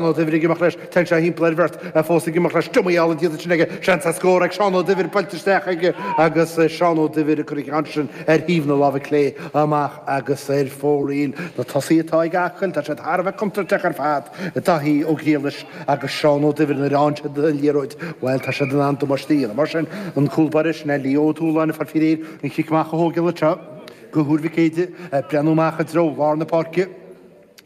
Ó Duibhir ag imeacht leis, téann sé thimpeall ar bheirt, fós ag imeacht leis, diomaí álainn déanta ansin aige, seans ar scór ag Seán Ó Duibhir, buailte isteach aige agus Seán Ó Duibhir ag cur an ceann sin ar thaobh na láimhe clé amach agus ar fóraoil. Na tosaithe atá ag Acaill, tá siad thar a bheith contúirteach ar fad, Daithí Ó Griallais agus Seán Ó Duibhir, nuair a fhaigheann siad an liathróid, bhuel, tá siad in ann damáiste a dhéanamh. Mar sin, an cúl báire, sin é Leo Ó Dúláin ag fáil faoi réir an chic amach a thógáil anseo do Thuar Mhic Éadaigh, ag breathnú amach i dtreo lár na páirce.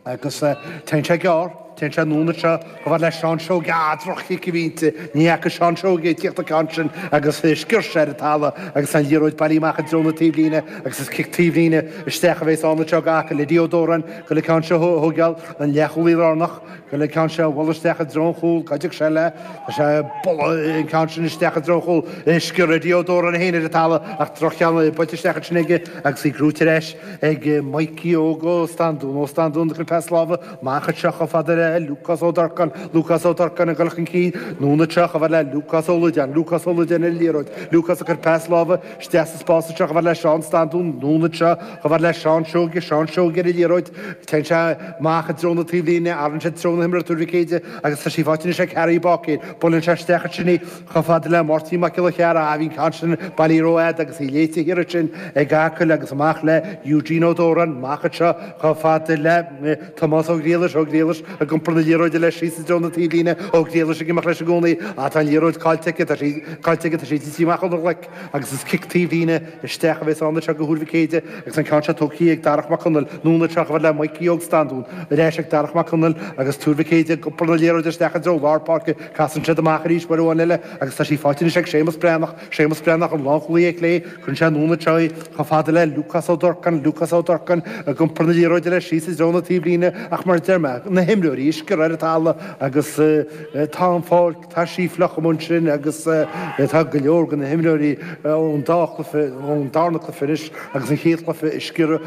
Agus téann sé gearr, téann sé anonn anseo chomh fada le Seán Seoige. Ah, droch-chic a bhí inti. Ní fhaca Seán Seoige ag tíocht an ceann sin agus sciorr sé ar an talamh agus an liathróid bailithe amach i dtreo na taobhlíne agus is cic taobhlíne isteach a bheas ann anseo d'Acaill. Eddie Ó Dóráin ag goil an ceann seo a thógáil, an leathchúlaí lárnach, ag goil an ceann seo a bhualadh isteach i dtreo an chúil. Cá dtiocfaidh sé le? Tá sé ag bualadh an ceann sin isteach i dtreo an chúil. Sciorr Eddie Ó Dóráin é féin ar an talamh ach droch-cheann buailte isteach ansin aige agus í gnóite ar ais ag Mikey Óg Ó Standún, Ó Standún ag cur pas láimhe amach anseo chomh fada le Lúcás Ó Durcáin, Lúcás Ó Durcáin ag dul chun cinn, anonn anseo chomh fada le Lúcás Ó Loideáin, Lúcás Ó Loideáin ar an liathróid, Lúcás ag cur pas láimhe isteach sa spás anseo chomh fada le Seán Standún, anonn anseo chomh fada le Seán Seoige, Seán Seoige ar an liathróid, téann sé amach i dtreo na taobhlíne, athraíonn sé treo na himeartha Tuar Mhic Éadaigh agus tá sí faighte anois ag Harry Báicéir, buaileann sé isteach ansin í. Chomh fada le Máirtín Mac Giolla Chearra, bhí an ceann sin bailithe rófhada agus í léite thiar ansin ag Acaill agus amach le Eugene Ó Dóráin, amach anseo chomh fada le Tomás Ó Griallais, Ó Griallais ag iompar na liathróide leis síos i dtreo na taobhlíne, Ó Griallais ag imeacht leis i gcónaí. Á, tá an liathróid caillte aige, tá sí caillte aige, tá sí tite amach óna ghlaic agus is cic taobhlíne isteach a bheas ann anseo do Thuar Mhic Éadaigh agus an ceann seo tógtha ag Darach Mac Conaill, anonn anseo chomh fada le Mikey Óg Standún, ar ais ag Darach Mac Conaill agus Tuar Mhic Éadaigh ag iompar na liathróide isteach i dtreo lár páirce. Casann siad amach arís uair amháin eile agus tá sí faighte anois ag Séamus Breathnach, Séamus Breathnach, an lánchúlaí ar chlé, cuireann sé anonn anseo í chomh fada le Lúcás Ó Durcáin, Lúcás Ó Durcáin ag iompar na liathróide leis síos i dtreo na taobhlíne ach mar a deir mé, na himreoirí ag sciorradh ar an talamh agus tá an pháirc, tá sí fliuch amuigh ansin agus tá go leor de na himreoirí ón dá chluiche, ón darna cluiche anois agus an chéad chluiche ag sciorradh.